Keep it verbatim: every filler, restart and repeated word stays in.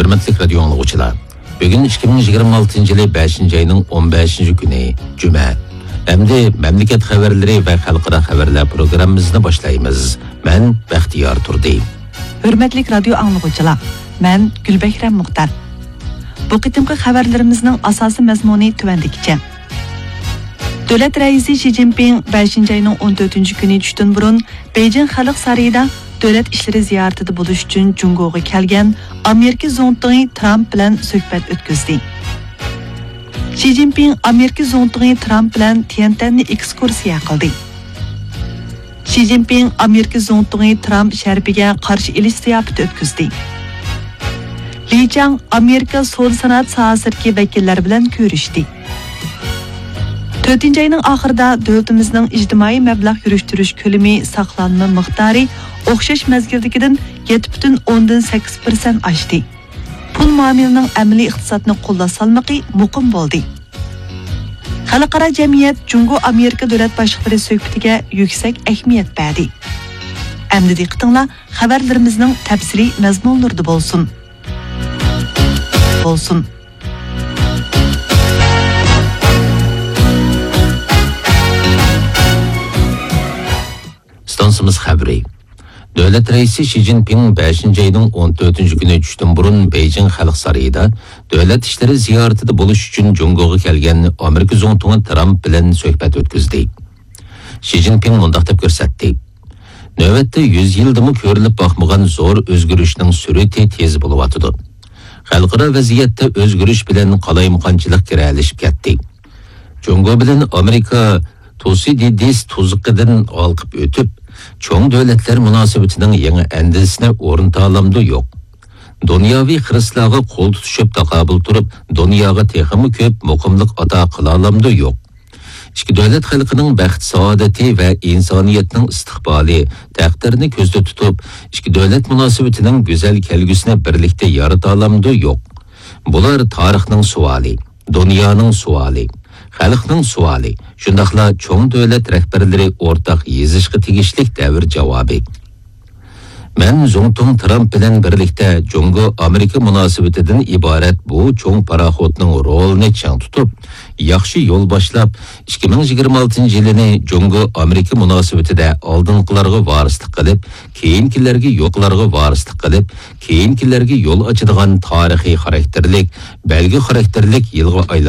ھۆرمەتلىك رادىيو ئاڭلىغۇچىلار، بۈگۈن ئىككى مىڭ يىگىرمە ئالتىنچى يىلى بەشىنچى ئاينىڭ ئون بەشىنچى كۈنى، جۈمە. ئەمدى مەملىكەت خەۋەرلىرى ۋە خەلقئارا خەۋەرلەر پروگراممىمىزنى باشلايمىز. مەن بەختىيار تۇردى. ھۆرمەتلىك رادىيو ئاڭلىغۇچىلار، مەن گۈلبەھرەم مۇختار. بۇ قېتىمقى خەۋەرلىرىمىزنىڭ ئاساسىي مەزمۇنى تۆۋەندىكىچە. دۆلەت رەئىسى شى جىنپىڭ بەشىنچى ئاينىڭ ئون تۆتىنچى كۈنى چۈشتىن بۇرۇن بېيجىڭ خەلق سارىيىدا دۆلەت ئىشلىرى زىيارىتىدە بولۇش ئۈچۈن جۇڭگوغا كەلگەن ئامېرىكا زۇڭتۇڭى ترامپ بىلەن سۆھبەت ئۆتكۈزدى. شى جىنپىڭ ئامېرىكا زۇڭتۇڭى ترامپ بىلەن تيەنتەننى ئېكسكۇرسىيە قىلدى. شى جىنپىڭ ئامېرىكا زۇڭتۇڭى ترامپ شەرىپىگە قارشى ئېلىش زىياپىتى ئۆتكۈزدى. لى چاڭ ئامېرىكا سودا سانائەت ساھەسىدىكى ۋەكىللەر بىلەن كۆرۈشتى. تۆتىنچى ئاينىڭ ئاخىرىدا دۆلىتىمىزنىڭ ئىجتىمائىي مەبلەغ يۈرۈشتۈرۈش كۆلىمى، ساقلانما مىقدارى ئوخشاش مەزگىلدىكىدىن يەتتە پۈتۈن ئوندىن سەككىز پىرسەنت ئاشتى. پۇل مۇئامىلىنىڭ ئەمەلىي ئىقتىسادنى قوللاش سالمىقى مۇقىم بولدى. خەلقئارا جەمئىيەت جۇڭگو ئامېرىكا دۆلەت باشلىقلىرى سۆھبىتىگە يۈكسەك ئەھمىيەت بەردى. ئەمدى دىققىتىڭلار خەۋەرلىرىمىزنىڭ تەپسىلىي مەزمۇنلىرىدا بولسۇن. بولسۇن. ئىستانسىمىز خەۋىرى. دۆلەت رەئىسى شى جىنپىڭ بەشىنچى ئاينىڭ ئون تۆتىنچى كۈنى چۈشتىن بۇرۇن بېيجىڭ خەلق سارىيىدا دۆلەت ئىشلىرى زىيارىتىدە بولۇش ئۈچۈن جۇڭگوغا كەلگەن ئامېرىكا زۇڭتۇڭى ترامپ بىلەن سۆھبەت ئۆتكۈزدى. شى جىنپىڭ مۇنداق دەپ كۆرسەتتى: نۆۋەتتە يۈز يىلدىمۇ كۆرۈلۈپ باقمىغان زور ئۆزگىرىشنىڭ سۈرئىتى تېز بولۇۋاتىدۇ. خەلقئارا ۋەزىيەتتە ئۆزگىرىش بىلەن قالايمىقانچىلىق گىرەلىشىپ كەتتى. جۇڭگو بىلەن ئامېرىكا تۇسىدىدىس تۇزىقىدىن ھالقىپ ئۆتۈپ، چوڭ دۆلەتلەر مۇناسىۋىتىنىڭ يېڭى ئەندىزىسىنى ئورنىتالامدۇ يوق؟ دۇنياۋى خىرىسلارغا قول تۇتۇشۇپ تاقابىل تۇرۇپ، دۇنياغا تېخىمۇ كۆپ مۇقىملىق ئاتا قىلالامدۇ يوق؟ ئىككى دۆلەت خەلقىنىڭ بەخت-سائادىتى ۋە ئىنسانىيەتنىڭ ئىستىقبالى، تەقدىرىنى كۆزدە تۇتۇپ، ئىككى دۆلەت مۇناسىۋىتىنىڭ گۈزەل كەلگۈسىنى بىرلىكتە يارىتالامدۇ يوق؟ بۇلار تارىخنىڭ سوئالى، دۇنيانىڭ سوئالى، خەلقنىڭ سوئالى، شۇنداقلا چوڭ دۆلەت رەھبەرلىرى ئورتاق يېزىشقا تېگىشلىك دەۋر جاۋابى. مەن زۇڭتۇڭ ترامپ بىلەن بىرلىكتە جۇڭگو ئامېرىكا مۇناسىۋىتىدىن ئىبارەت بۇ چوڭ پاراخوتنىڭ رولىنى چىڭ تۇتۇپ، ياخشى يول باشلاپ، ئىككى مىڭ يىگىرمە ئالتىنچى يىلىنى جۇڭگو ئامېرىكا مۇناسىۋىتىدە ئالدىنقىلارغا ۋارىسلىق قىلىپ، كېيىنكىلەرگە يوقلارغا ۋارىسلىق قىلىپ، كېيىنكىلەرگە يول ئاچىدىغان تارىخىي خاراكتېرلىك، بەلگە خاراكتېرلىك يىلغا ئايلاندۇرۇپ،